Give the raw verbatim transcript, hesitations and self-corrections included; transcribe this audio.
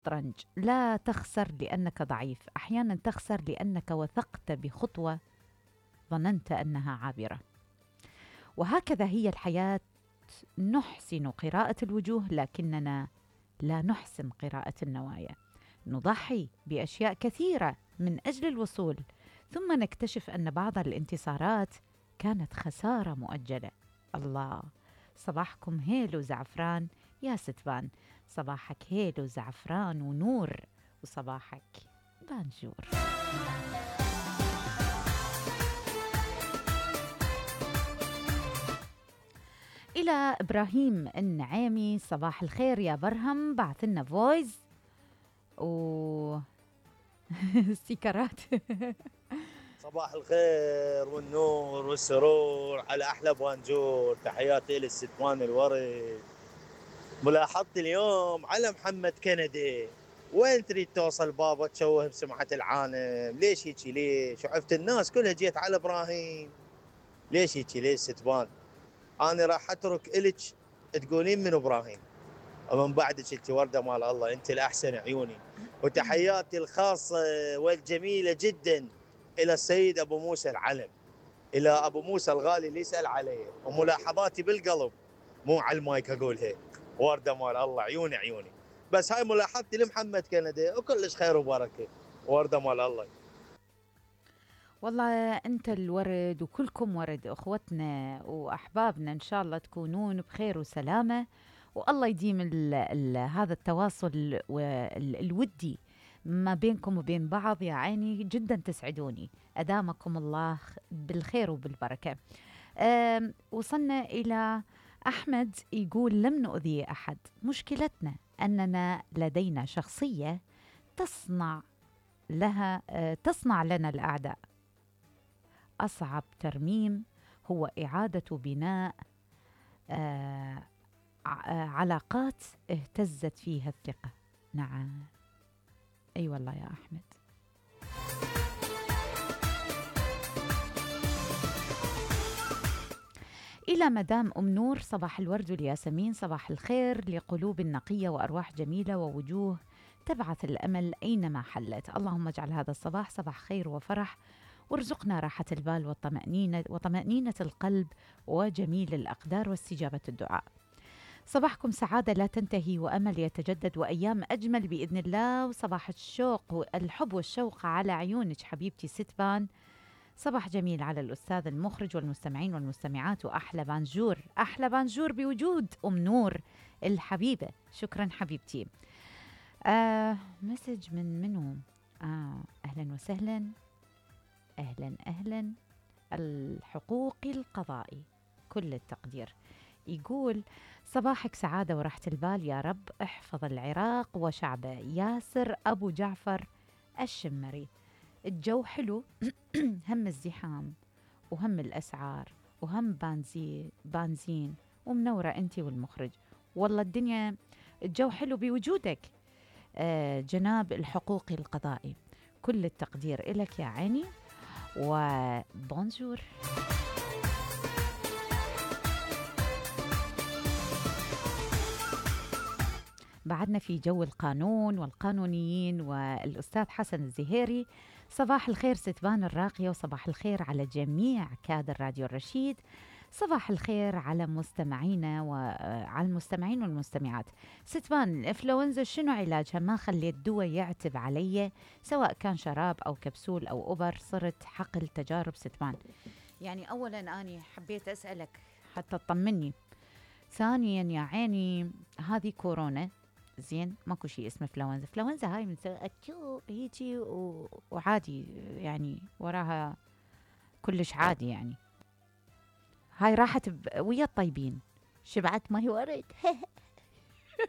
الشطرنج، لا تخسر لأنك ضعيف، أحيانا تخسر لأنك وثقت بخطوة ظننت أنها عابرة. وهكذا هي الحياة، نحسن قراءة الوجوه لكننا لا نحسن قراءة النوايا. نضحي بأشياء كثيرة من أجل الوصول، ثم نكتشف أن بعض الانتصارات كانت خسارة مؤجلة. الله، صباحكم هيلو زعفران يا ستبان، صباحك هيلو زعفران ونور، وصباحك بانجور. إلى إبراهيم النعيمي، صباح الخير يا برهم، بعث لنا فويس و ستيكرات. صباح الخير والنور والسرور على أحلى بانجور، تحياتي للستوان الورد. ملاحظتي اليوم على محمد كندي، وين تريد توصل بابا تشوه بسمعة العالم؟ ليش هيجي؟ ليش وعفت الناس كلها جيت على إبراهيم؟ ليش هيجي؟ ليش ستبان؟ أنا راح أترك إلك تقولين من إبراهيم، ومن بعدك انت وردة مال الله، انت الأحسن عيوني. وتحياتي الخاصة والجميلة جدا إلى السيد أبو موسى العلم، إلى أبو موسى الغالي اللي يسأل عليه، وملاحظاتي بالقلب مو على المايك أقولها. وردة مال الله، عيوني عيوني. بس هاي ملاحظتي لمحمد كندي، وكلش خير وبركة. وردة مال الله. والله أنت الورد وكلكم ورد، أخوتنا وأحبابنا، إن شاء الله تكونون بخير وسلامة، والله يديم ال ال هذا التواصل الودي ما بينكم وبين بعض. يا عيني جدا تسعدوني، أدامكم الله بالخير وبالبركة. وصلنا إلى أحمد يقول لم نؤذي أحد، مشكلتنا أننا لدينا شخصية تصنع لها تصنع لنا الأعداء. أصعب ترميم هو إعادة بناء آه علاقات اهتزت فيها الثقة. نعم، أي أيوة والله يا أحمد. إلى مدام أم نور، صباح الورد والياسمين، صباح الخير لقلوب نقية وأرواح جميلة ووجوه تبعث الأمل أينما حلت. اللهم اجعل هذا الصباح صباح خير وفرح، وارزقنا راحة البال والطمأنينة وطمأنينة القلب وجميل الأقدار واستجابة الدعاء. صباحكم سعادة لا تنتهي وأمل يتجدد وأيام أجمل بإذن الله. وصباح الشوق والحب والشوق على عيونك حبيبتي ستبان. صباح جميل على الأستاذ المخرج والمستمعين والمستمعات، وأحلى بانجور، أحلى بانجور بوجود أم نور الحبيبة. شكرا حبيبتي. آه مسج من منو؟ آه أهلا وسهلا، أهلا أهلا. الحقوقي القضائي، كل التقدير. يقول صباحك سعادة وراحة البال يا رب، احفظ العراق وشعبه. ياسر أبو جعفر الشمري. الجو حلو هم الزحام وهم الأسعار وهم بنزين بنزين ومنورة أنت والمخرج. والله الدنيا الجو حلو بوجودك. آه جناب الحقوقي القضائي، كل التقدير إلك يا عيني، وبونجور. بعدنا في جو القانون والقانونيين والأستاذ حسن الزهيري. صباح الخير ستبان الراقية، وصباح الخير على جميع كادر راديو الرشيد. صباح الخير على مستمعينا وعلى المستمعين والمستمعات. ستبان، الإنفلونزا شنو علاجها؟ ما خليت دواء يعتب علي، سواء كان شراب أو كبسول أو أوبر، صرت حقل تجارب ستبان. يعني أولا أنا حبيت أسألك حتى تطمني، ثانيا يا عيني هذه كورونا زين، ماكو شيء اسمه فلونزا. فلونزا هاي من اتشو هيجي وعادي يعني، وراها كلش عادي يعني. هاي راحت ويا الطيبين، شبعت ما هي ورد.